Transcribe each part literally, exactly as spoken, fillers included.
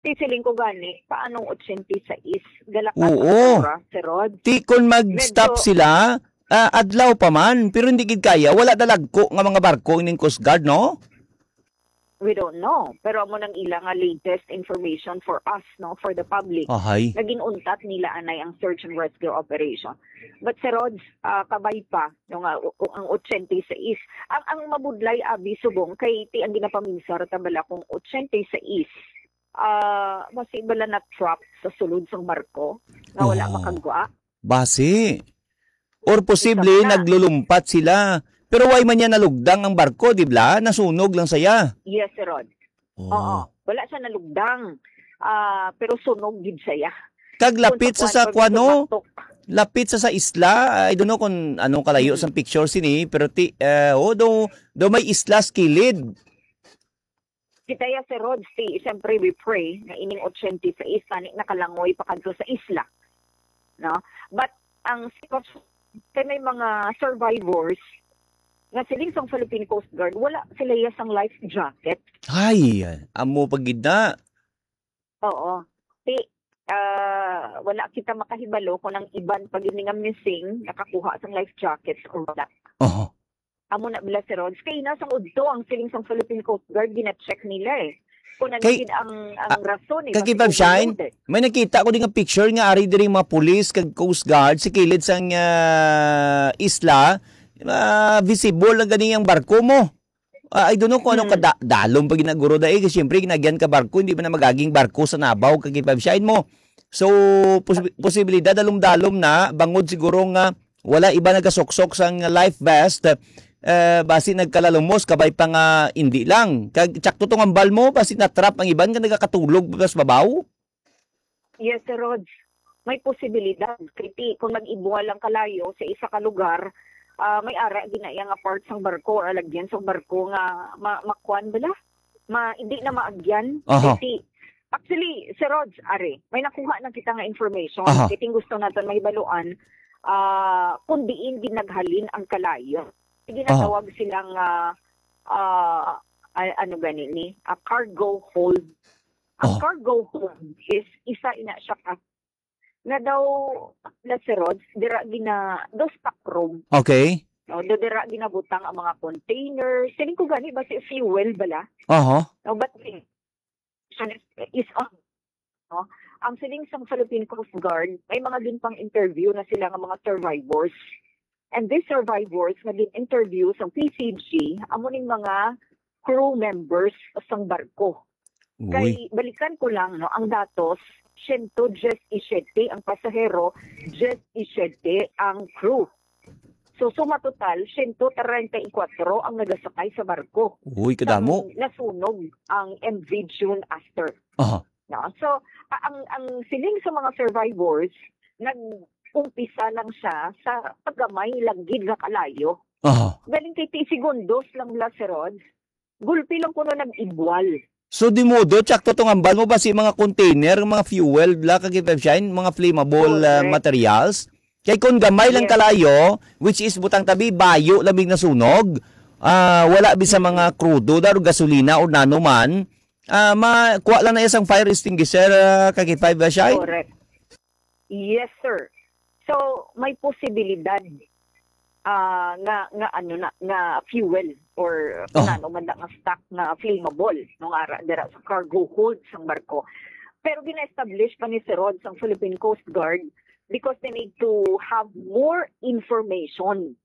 Ti siling ko gani, paanong ochenta y seis? Galakat Oo. Ang oras, Sir Rod. Ti kon mag-stop Medyo sila, ah, adlaw pa man, pero hindi gid kaya. Wala na lagko nga mga barko ining Coast Guard, no? We don't know. Pero amo nang ila nga latest information for us, no, for the public. Ahay. Nga ginuntat nila anay ang search and rescue operation. But Sir Rod, ah, kabay pa, no, nga u- u- ang ochenta y seis. Ang, ang mabudlay, abi, subong, kay ti ang ginapaminsar ta bala kung ochenta y seis, ah, basi bala na-trap sa sulod sang barko nga wala Oo. Makagwa. Basi. Or posible, Isa pa. Naglulumpat sila. Pero why man niya nalugdang ang barko, di ba? Nasunog lang saya. Yes, Sir Rod. Oh. Oo. Wala siya nalugdang. Ah, pero sunog gid siya. Kag lapit sa, sa kuan, no? Lapit sa, sa isla. I don't know kung ano kalayo sa picture sini, pero ti, eh, oh, do, do may isla sa kilid. Kita ya, Sir Rod, ti, siyempre, we pray nga ining ochenta y seis tani nakalangoy pa kadto sa isla. No? But ang sitwasyon, kay may mga survivors nga siling sang Philippine Coast Guard, wala sila ya sang life jacket. Ay, amo pa gid na. Oo. Ti, ah, wala kita makahibalo kung ang iban pa gid nga missing nakakuha sang life jackets or wala. Oho. Amo na bala, Sir Rod. Kay na sang udto ang siling sang Philippine Coast Guard, gina-check nila eh. Kung ano Kay, gid ang, ang ah, rason eh, kag bakit Ivan Shine, overloaded. May nakita ko din nga picture nga ari diri mga pulis kag Coast Guard sa kilid sang, ah, isla, ah, visible lang gani ang barko mo. Ah, I don't know kung anong Hmm. kada-, dalom pa ginaguro dai, kasi siyempre ginagyan ka barko, hindi man na magaging barko sa nabaw kag Ivan Shine mo. So, pos-, posibilidad dalom-dalom na bangod siguro nga wala iba nagasuksok sang life vest, eh, basi nagkalalumos, kabay pa nga indi lang. Kag tsakto tong ambal mo, basi na-trap ang iban nga nagakatulog pa sa babaw. Yes, Sir Rog. May posibilidad. Kay ti, kung nag-ibwal lang kalayo sa isa ka lugar, ah, may ara ginaya nga part sang barko or alagyan sang barko nga ma-, makuan bala? Ma-, hindi na maagyan. Aha. Kay ti, actually, Sir Rog, are, may nakuha na kita nga information. Aha. Kay ting gusto naton mahibaluan, ah, kung diin ginaghalin ang kalayo. Sige, aha, natawag silang, ah, ah, a-, ano gani ni? A cargo hold. Ang, oh, cargo hold is isa ina siya ka nga daw, na si Rods, dira gina-, daw stock room. Okay. No, do dira ginabutang ang mga container. Siling ko gani ba si fuel bala? Aha. No, but the question is, is on, no? Ang siling sang Philippine Coast Guard, may mga ginpang-interview na sila nga mga survivors. And these survivors nga gin-interview sa P C G, amo ning mga crew members sang barko. Uy. Kay balikan ko lang, no, ang datos, siyento diyes y siyete ang pasahero, diyes y siyete ang crew. So, suma total, siyento treinta y kuwatro ang nagasakay sa barko. Uy, kadamo. Sang nasunog ang M V June Aster. Aha. No? So, a-, ang, ang siling sa mga survivors, nag-umpisa lang siya sa paggamay lang gid nga kalayo. Aha. Galing kay ti segundos lang bala si Rods, gulpi lang kuno nag-ibwal. So, di modo, tsakto tong ambal mo ba si mga container, mga fuel, bla, kag Shine, mga flammable, ah, correct, materials? Kay kung gamay lang, yes, kalayo, which is butang tabi, bayo lang big nasunog, ah, wala bisa, mm, mga krudo, da, o gasolina, o nano man, ah, ma-, kuha lang na isang fire extinguisher, ah, kag Shine? Correct. Yes, sir. So, may posibilidad, ah, nga, nga ano na, nga fuel or, oh, kung ano man na nga stock nga flammable, no, nga ara-, dira sa cargo hold sang barko. Pero gina-establish pa ni Sir Rod sang Philippine Coast Guard because they need to have more information,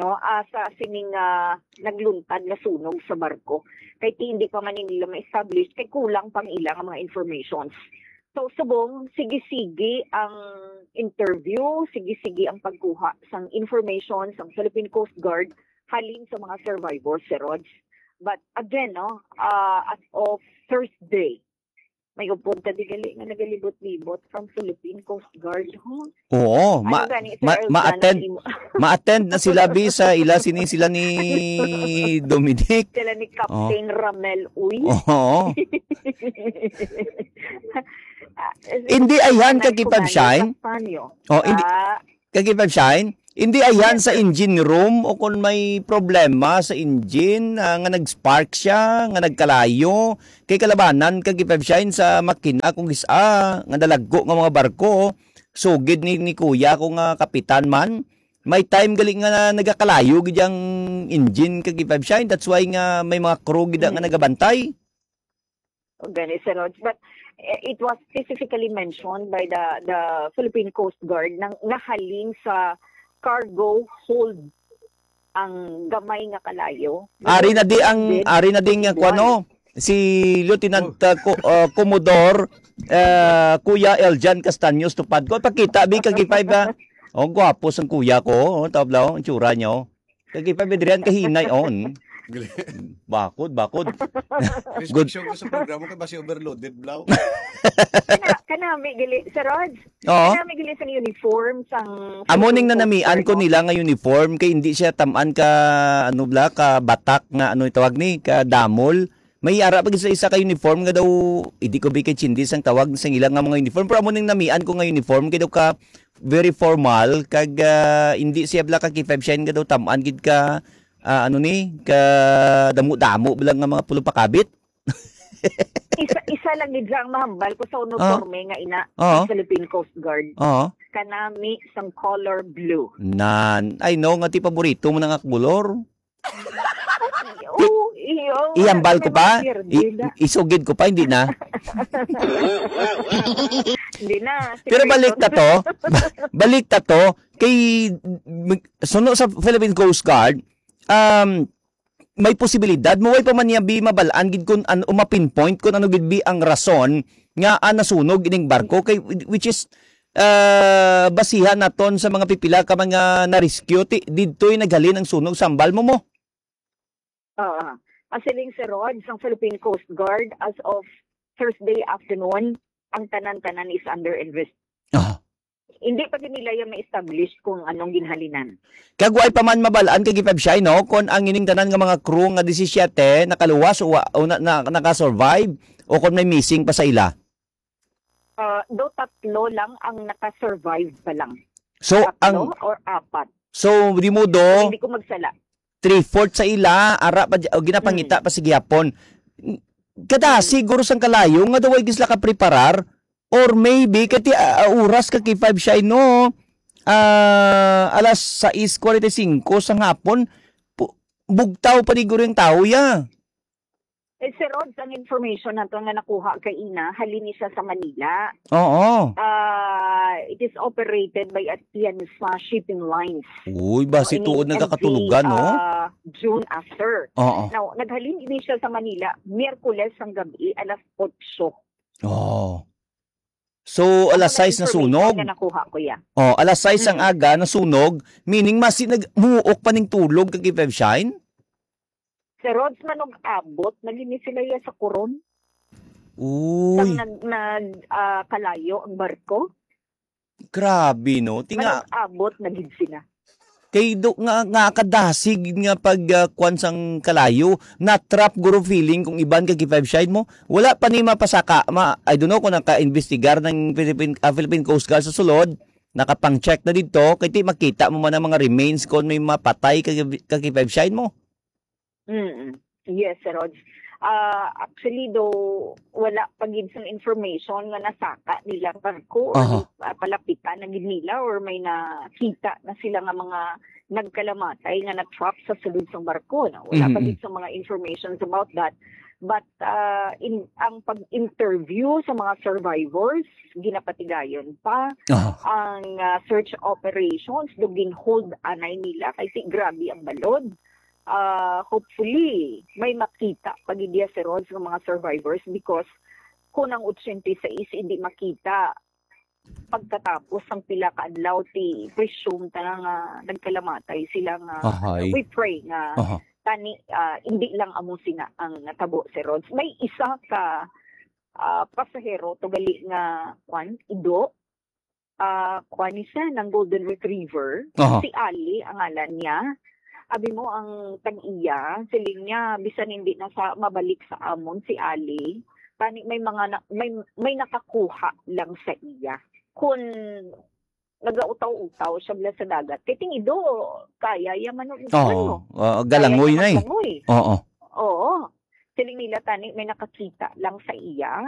no, ah, sa sining, ah, nagluntad nga sunog sa barko. Kay ti hindi pa man nila ma-establish, kay kulang pang ila nga mga informations. So, subong, sige-sige ang interview, sige-sige ang pagkuha sang information sang Philippine Coast Guard halin sa mga survivors, Sir Rog. But again, no, ah, as of Thursday, may upod ka di gali nga nagalibot-libot from Philippine Coast Guard, ho? Oo, ano ma-, gani, Sir ma-, Elsa, ma-attend, nag-imo-, ma-attend na sila, bi, sa ila, sini sila ni Dominic. Sila ni, oh, Captain Ramel, uy. Oo. Ah, hindi, ayhan, kag Shine. Oh, hindi. Ah. Kag Shine, Hindi ayan sa engine room o kung may problema sa engine, ah, nga nag-spark siya, nga nagkalayo, kay kalabanan ka, K five Shine, sa makina kung gis-, ah, nga nalagko nga mga barko. Sugid ni, ni kuya ko nga kapitan man, may time gali nga na, nagakalayo gid ang engine, ka K five Shine. That's why nga may mga crew gid nga Mm. nagabantay. O, gani, Sir Rog. But, eh, it was specifically mentioned by the, the Philippine Coast Guard nang nahalin sa cargo hold ang gamay nga kalayo. Ari na di ang, Then, ari na di nga kuwan, no? Si Lieutenant, Oh. uh, Co-, uh, Commodore, uh, Kuya Eljan Castaños Tupad ko. Pakita, bi, kag five, ah. Oh, gwapo sang kuya ko. Oh, tabla, oh, ang tsura niya, oh. Kag five, Adrian, kahinay, oh. Mm. Gali. Bakod, bakod. Good. Inspection ko sa programa kay basi overloaded, blaw. Kana, kanami gali, Sir Rog. Oo. Kanami gali sang uniform, sang Amo ning Philippine Coast nanamian Guard, ko no? nila nga uniform kay hindi siya taman ka, ano bla, ka batak nga, ano itawag ni, ka damol. May ara pa gid sa isa ka uniform nga daw, hindi ko bi kay chindis ang tawag sa ila nga mga uniform. Pero amo ning namian ko nga uniform kay daw ka very formal, kag, ah, hindi siya bla ka K five Shine nga daw taman gid ka, ah, ano ni, ka damo-damo bla nga mga pulong pakabit. Isa, isa lang gid lang mahambal ko sa Ah. uniforme nga ina Oo. sa Philippine Coast Guard. Oo. Kanami sang color blue. Nan, I know nga ti paborito mo na nga kolor. Oo, iyo, Ihambal ko wala pa? may mga I-, pierde na. isugid ko pa, hindi na. Hindi na, Pero balik na sikreto. to. Balik na to. Kay, mag-, suno sa Philippine Coast Guard, um, may posibilidad mo, way pa man niya bi mabalaan gid kung ano, ma-pinpoint kung ano gid bi ang rason nga, ah, nasunog ining barko kay, which is, ah, basihan naton sa mga pipila ka mga na-rescue, ti-, didto'y naghalin ang sunog, sambal mo mo. Oo. Ang siling, Sir Rog, sang Philippine Coast Guard, as of Thursday afternoon, ang tanan-tanan is under invest-, Ah. hindi pa gid nila yan ma-establish kung anong ginhalinan. Kag way pa man mabalaan kay Gipab Shine, no, kung ang ining tanan nga mga crew nga disisiete nakaluwas o wa-, o na, na, naka-survive o kung may missing pa sa ila. Ah, do tatlo lang ang naka-survive pa lang. So, Tatlo ang or apat. So, di mo do, Kung hindi ko magsala. three-fourth sa ila, ara pa, o ginapangita Mm. pa sa gihapon. Kada Mm. siguro sang kalayo nga daw ay gisla ka preparar, or maybe, kati, ah, ah, oras ka K five Shine, no? Ah, alas sais cuarenta y cinco sa hapon, pu-, bugtaw pa ni guro yung tao, ya. Eh, Sir Rods, ang information nato nga nakuha kay ina, halin ni siya sa Manila. Oo. Ah, it is operated by Atienza Shipping Lines. Uy, basi Ang tuod ining nagkakatulugan, M V, no? ah, June after. Oo. Now, naghalin ini siya sa Manila, Miyerkules sang gabi, alas otso. Oh. So, Ang alas mga sais na information sunog. nga nakuha ko, ya. Oh, alas sais ang Mm. aga, nasunog, meaning masi nag-, muok pa ning tulog kag Five Shine? Sir Rods, manug-abot na gid ni sila ya sa Coron. Uy. Sang nag-, nag-, ah, kalayo ang barko. Grabe, no? Tinga- Manug-abot na gid sila. Kay do, nga, nga kadasig nga pag, ah, kwan sang kalayo, na-trap guro feeling kung iban kag Five Shine mo. Wala pa ni mapasaka, ma-, I don't know kung naka-imbestigar ng Philippine, ah, Philippine Coast Guard sa sulod, nakapang-check na didto, kay ti makita mo man ang mga remains kung may mapatay kag, kag Five Shine mo. Mm. Yes, Sir Rods. Ah, actually, do, wala pa gid sang information nga nasaka nila barko or Aha. ah, palapitan na gid nila or may nakita na sila nga mga nagkalamatay nga na-trap sa sulod sang barko, no? Wala pa Mm-mm. gid sa mga informations about that. But, ah, in, ang pag-interview sa mga survivors, ginapatigayon pa. Aha. Ang, ah, search operations, do gin-hold anay nila kay si grabe ang balod. Ah, hopefully, may makita pa gid ya, Sir Rods, ng mga survivors because kung ang ochenta y seis hindi makita pagkatapos ng pila ka adlaw, ti presume ta na nga nagkalamatay sila nga, Ahay. we pray nga Aha. tani, ah, hindi lang amo sina ang natabo, Sir Rods. May isa ka, ah, pasahero, to gali nga, kwan, ido, ah, kuan ni siya, ng golden retriever. Aha. Si Ali ang ngalan niya. Abi mo ang tag-iya, siling niya, bisan hindi na sa mabalik sa amon si Ali, tani may mga na, may, may nakakuha lang sa iya. Kun nagautaw-utaw siya bala sa dagat. Kay ting ido, kaya ya man ang Oo. ano. Ah, Kaya galangoy ya na eh. maglangoy. Oo. Oo. Siling nila tani may nakakita lang sa iya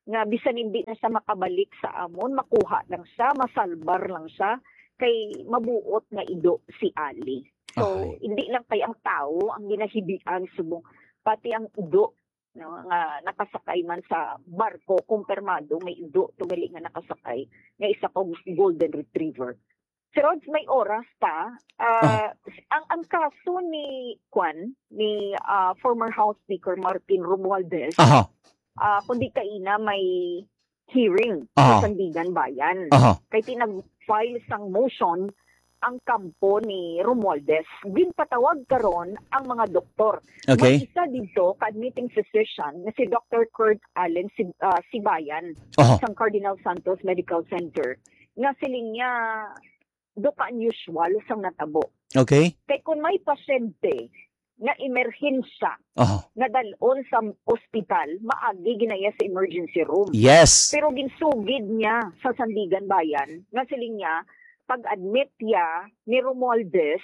nga bisan hindi na siya makabalik sa amon, makuha lang siya, masalbar lang siya, kay mabuot nga ido si Ali. So, Okay. hindi lang kay ang tawo ang ginahibian subong, pati ang ido, no, nga nakasakay man sa barko, kumpirmado may ido to gali nga nakasakay, nga isa ka golden retriever. Si Rods, may oras pa. Ah, Ah. ang, ang kaso ni, kwan, ni, ah, former House Speaker Martin Romualdez, Aha. ah, kundi kaina may hearing Aha. sa Sandigan Bayan. Aha. Kay tinag-file sang motion ang kampo ni Romualdez. Ginpatawag karon ang mga doktor. Okay. May isa dito ka admitting physician nga si Doctor Kurt Allen Sib-, ah, Sibayan Aha. sang Cardinal Santos Medical Center nga siling niya do ka unusual sang natabo. Okay. Kay kung may pasyente nga emerhensya Aha. nga dalon sa ospital, maagi ginaya sa emergency room. Yes. Pero ginsugid niya sa Sandigan Bayan nga siling niya, pag-admit niya ni Romualdez,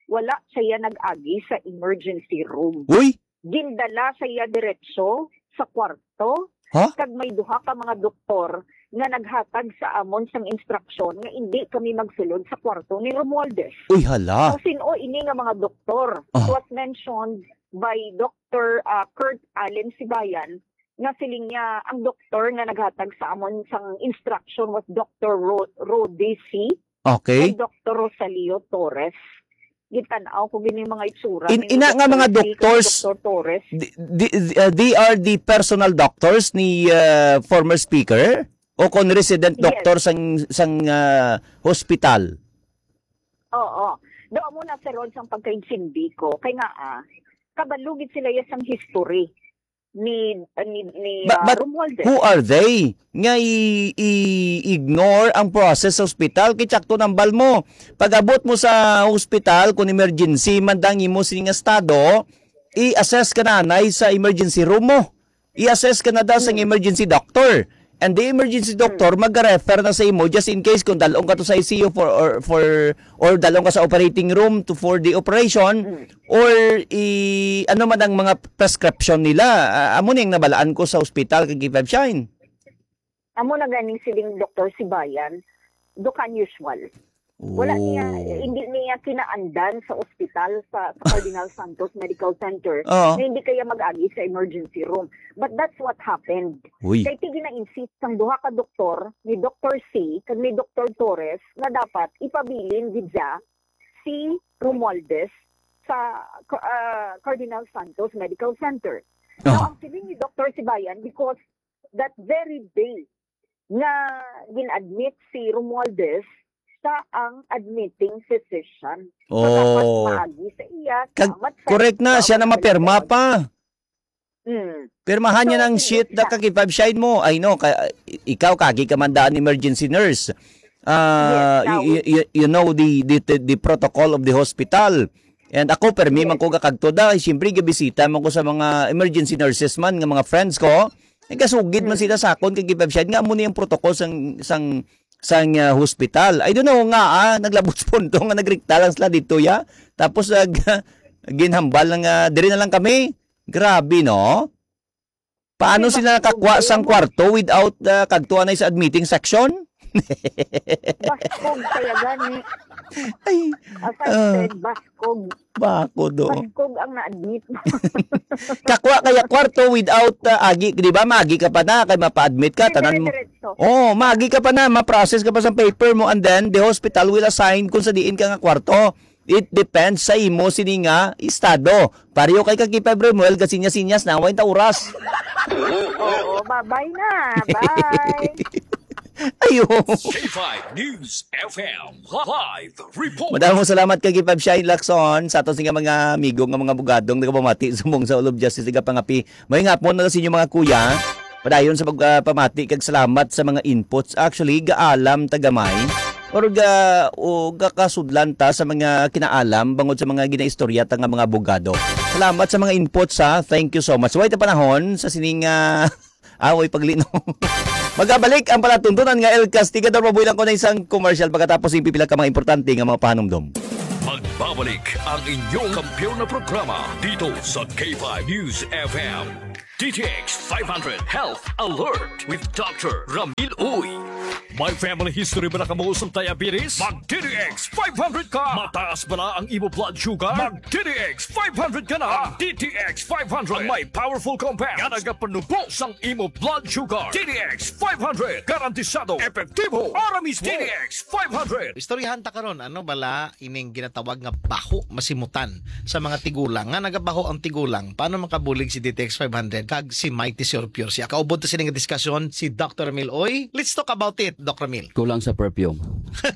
wala siya nag-agi sa emergency room. Uy! Gindala siya diretso sa kwarto. Ha? Kag may duha ka mga doktor nga naghatag sa amon sang instruction nga indi kami magsulod sa kwarto ni Romualdez. Uy, hala. So, sin-o ini nga mga doktor? Ah. It was mentioned by Doctor, ah, Kurt Allen Sibayan nga siling niya ang doktor nga naghatag sa amon sang instruction was Doctor Ro-, Rodi C. Okay. Kay Doctor Rosalio Torres. Gitan-aw ko gini mga itsura In-, ni ina nga mga Doctor C, kay doctors, Doctor Torres. Di, di, uh, they are the personal doctors ni, uh, former speaker o kon resident Yes. doctor sang, sang, uh, hospital? Oo. Do amo na, sir Rod, sang pagkaintindi ko. Kay nga, ah, kabalo gid sila ya sang history ni, ni, ni, But, ah, but Romualdez. Who are they nga i-, i-ignore ang process sa ospital? Kay tsakto nambal mo. Pag-abot mo sa ospital, kung emergency man dang imo sini nga estado, i-assess ka na anay sa emergency room mo. I-assess ka na daw sa Hmm. emergency doctor. And the emergency doctor Hmm. mag-refer na sa imo just in case kung dalong ka to sa I C U for, or for, or dalong ka sa operating room to, for the operation, Hmm. or i-, ano man ang mga prescription nila. Ah, amo ning nabalaan ko sa ospital kag K five Shine. Amo na ganing siling Doktor Sibayan, do ka unusual. Wala niya, Oh. hindi niya kinaandan sa ospital sa, sa Cardinal Santos Medical Center Oo. na hindi kaya mag-agi sa emergency room. But that's what happened. Uy. Kay ti gina-insist sang duha ka doktor, ni Doktor C kag ni Doktor Torres, nga dapat ipabilin gid siya si Romualdez sa, ah, Cardinal Santos Medical Center. Now, Oo. ang siling ni Doktor Sibayan, because that very day nga gin-admit si Romualdez, siya ang admitting physician. So, dapat Oh. maagi sa iya, Kag-, salamat sa correct na, siya na salamat mapirma sa pa. Mm. Pirmahan niya So, ng hindi sheet na siya. Ka K five Shine mo. I know, ka, i-, ikaw, kagi ka man daan emergency nurse. Ah, Yes, you, you, you, you know the, the, the, the protocol of the hospital. And ako, permi man Yes. ko gakagto da. Siyempre, gabisita man ko sa mga emergency nurses man, nga mga friends ko. Eh, gasugid man Mm. sila sa akon kay K five Shine nga amo ni ang protocol sang, sang, sang, ah, hospital. I don't know nga, ah, naglabot sa punto nga nagrikta lang sila dito, ya. Tapos, ah, ginhambal lang, ah, diri na lang kami. Grabe, no? Paano Kasi sila bas-, nakakuha sang problema. Kwarto without, ah, kagtuan na sa admitting section? Baskog kaya gani. Ay, As I ah. said, baskog. Bako do. Baskog ang na-admit. Kakuha kaya kwarto without, ah, agi, di ba? Magi ka pa na, kay mapa-admit ka, tanan mo. Dire-diretso. Oh, magi ka pa na, ma-process ka pa sa paper mo, and then the hospital will assign kung sa diin ka nga kwarto. It depends sa imo sini nga estado. Pareho kay ka Kipay Bremuel, gasinyas-sinyas na, way ta oras. Oo, bye-bye na. Bye. Ayo. K five News F M live report. Madamo salamat kay Kipay Shine Lacson sa aton nga mga amigo nga mga abogadong nagapamati sa mong sa All of Justice, nagapangapi. May nga po na sa inyo mga kuya. Padayon sa pagpamati kag salamat sa mga inputs. Actually, gaalam ta gamay. Or ga, o gakasudlan ta sa mga kinaalam bangod sa mga ginaistorya ta nga mga abogado. Salamat sa mga inputs, ha. Thank you so much. Way ta panahon sa sining, ah, ah, way paglino. Magabalik ang palatuntunan nga El Castigador. Mabuhi lang ko na isang commercial pagkatapos, yung pipila ka mga importante nga mga pahanumdom. Magbabalik ang inyong kampiyon na programa dito sa K five News F M. D T X five hundred Health Alert with Doctor Ramil Uy. May family history ba na kamo sa diabetes? Mag D T X five hundred ka. Mataas ba na ang imo blood sugar? Mag D T X five hundred ka na. Ang D T X five hundred ang may powerful compound nga nagapanubo sang imo blood sugar. D T X five hundred, garantisado, epektibo, ara mismo. D T X five hundred. Istoryahan ta karon, ano bala ining ginatawag nga baho masimutan sa mga tigulang, nga nagabaho ang tigulang? Paano makabulig si D T X five hundred kag si Mighty Sure Pure? Siya kaubod ta sini nga diskusyon si Doctor Ramil Uy. Let's talk about it, Doc Ramil. Kulang sa perfume.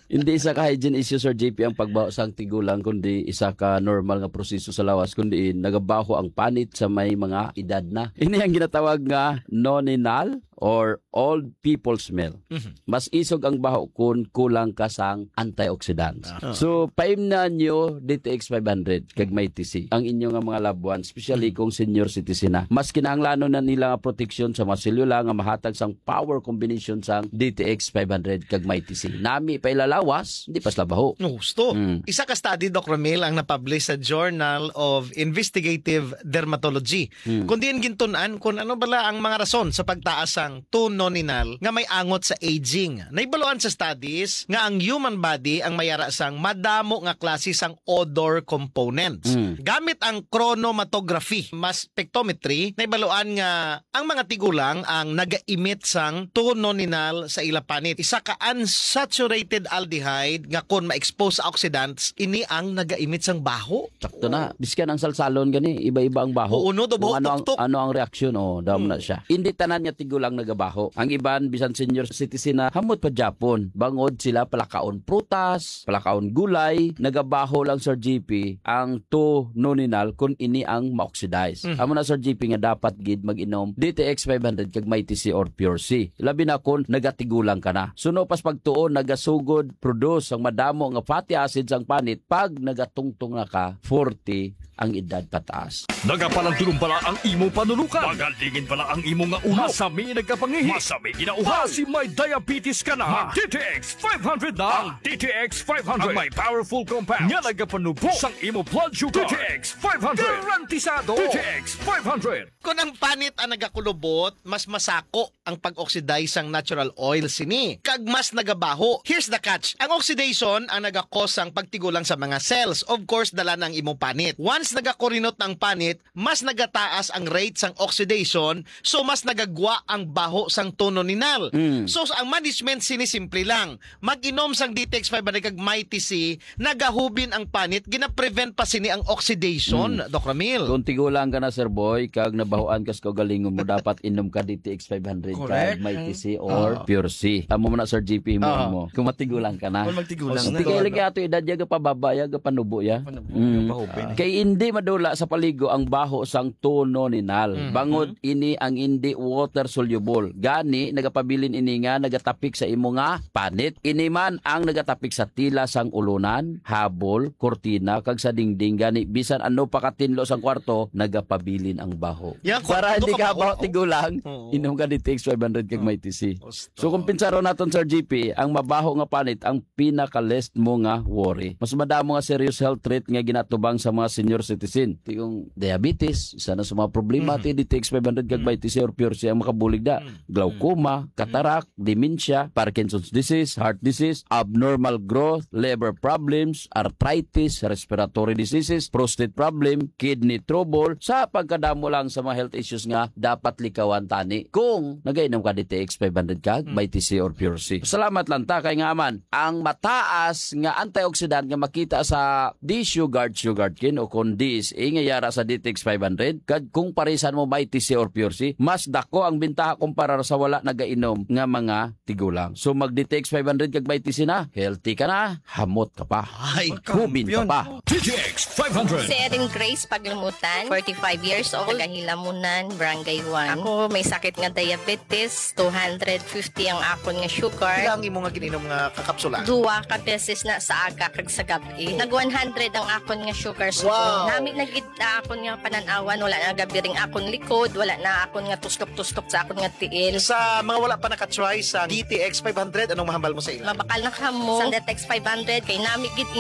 Hindi isa ka hygiene issue, Sir J P, ang pagbaho sang tigulang, kundi isa ka normal nga proseso sa lawas, kundi nagabaho ang panit sa may mga edad na. Ini ang ginatawag nga noninal or old people smell. Mhm. Mas isog ang baho kun kulang ka sang antioxidants. Ah. So, paimnan nyo D T X five hundred kag Mighty C ang inyo nga mga loved ones, especially Mhm. kung senior citizen na. Mas kinahanglanon na nila nga proteksyon sa mga selula nga mahatag sang power combination sang D T X five hundred kag Mighty C. Nami pa ilalawas, di pa sila baho. No, gusto. Mm. Isa ka study, Doc Ramil, ang napublish sa Journal of Investigative Dermatology. Hmm. Kundi ang gintun-an kung ano bala ang mga rason sa pagtaas sang two noninal nga may angot sa aging. Nahibaluan sa studies nga ang human body ang may ara sang madamo nga klase sang odor components. Hmm. Gamit ang chronomatography, mass spectrometry, nahibaluan nga ang mga tigulang ang naga-emit sang two noninal sa ila panit. Isa ka unsaturated aldehyde nga kon ma-expose sa oxidants, ini ang naga-emit sang baho. Sakto na. Oo. Biskan ang salsalon gani, iba-iba ang baho. Oo, no, do Kung buhok ano ang, tuktok. ano ang reaksyon, oh, damo na Hmm. siya. Hindi tanan nga tigulang nagabaho. Ang iban, bisan senior citizen na, hamot pa gyapon. Bangod sila palakaon prutas, palakaon gulay, nagabaho lang, Sir G P, ang two noninal kung ini ang ma-oxidize. Mhm. Amo na, Sir G P, nga dapat gid mag-inom D T X five hundred kag Mighty C or Pure C. Labi na kung nagatigulang ka na. Suno pas pagtuon, nagasugod, produce ang madamo nga fatty acids ang panit pag nagatungtong na ka forty ang edad pataas. Nagapalandulom bala ang imo panunukan? Magalingin bala ang imo nga ulo? Masami nagkapangihi? Masami ginauhaw? Basi may diabetes ka na? Mag D T X five hundred na. Ang D T X five hundred ang may powerful compound nga nagapanubo sang imo blood sugar. D T X five hundred. Garantisado. D T X five hundred. Kon ang panit ang nagakulubot, mas masako ang pag-oxidize sang natural oil sini, kag mas nagabaho. Here's the catch. Ang oxidation ang nagakos sang pagtigulang sa mga cells. Of course, dala na ang imong panit. Once nagakurinot na ang panit, mas nagataas ang rate sang oxidation, so mas nagagwa ang baho sang two noninal. Mm. So, ang management sini simple lang. Mag-inom sang D T X five hundred kag Mighty C, nagahubin ang panit, gina-prevent pa sini ang oxidation, Mm. Doc Ramil. Kung tigulang ka na, Sir Boy, kag nabahoan ka sa kaugalingon mo, dapat inom ka D T X five hundred Correct. kag Mighty C or Ah. Pure C. Amo man na, Sir G P, mo Ah. mo. Kung matigulang ka na. Kung magtigulang Kung na. tigil lagi ato edad, ya, gapababa, ya, gapanubo, ya. Panubo, Mm. gapahubin. Kay hindi madula sa paligo ang baho sang two noninal. Mm. Bangod Mm. ini ang hindi water soluble. Gani, nagapabilin ini nga nagatapik sa imo nga panit. Ini man ang nagatapik sa tila sang ulunan, habol, kurtina, kag sa dingding. Gani, bisan ano pa katinlo sang kwarto, nagapabilin ang baho. Yan, Para kwarto hindi ka ka ba, baho, oh. tigulang, Oo. inom ka D T X five hundred kag Oo. Mighty C. Gusto. So, kung pinsaron naton, Sir G P, ang mabaho nga panit, ang pinaka-least mo nga worry. Mas madamo nga serious health threat nga ginatubang sa mga senior citizen. Ti yung diabetes, isa na sa mga problema, Mhm. ti D T X five hundred kag Mm. Mighty C or Pure C ang makabulig da. Mm. Glaucoma, Mm. cataract, dementia, Parkinson's disease, heart disease, abnormal growth, liver problems, arthritis, respiratory diseases, prostate problem, kidney trouble. Sa pagkadamo lang sa mga health issues nga dapat likawan tani kung nagainom ka D T X five hundred kag Mm. Mighty C or Pure C. Salamat lang ta kay nga man ang mataas nga antioxidant nga makita sa D-Sugar, Sugarcane o kon D S A nga yara sa D T X five hundred, kag kung parisan mo Mighty C or Pure C, mas dako ang bintaha kumpara sa wala nagainom nga mga tigulang. So mag D T X five hundred kag Mighty C na, healthy ka na, hamot ka pa. Ay, Hubin ka kampiyon. pa. D T X five hundred. Si Erin Grace Paglumutan, forty-five years old, taga Hilamunan, Barangay one. Ako may sakit nga diabetes. diabetes, two hundred fifty ang akon nga sugar. Pila ang imo nga gin-inom nga kakapsula? Duwa ka beses na, sa aga kag sa gab-i. Nag one hundred ang akon nga sugar. So, wow, nami na gid na akon nga panan-awan, wala na gabiring akon likod, wala na akon nga tustok-tustok sa akon nga tiil. Sa mga wala pa naka-try sa D T X five hundred, anong mahambal mo sa ila? Mabakal na kamo sa D T X five hundred, kay nami gid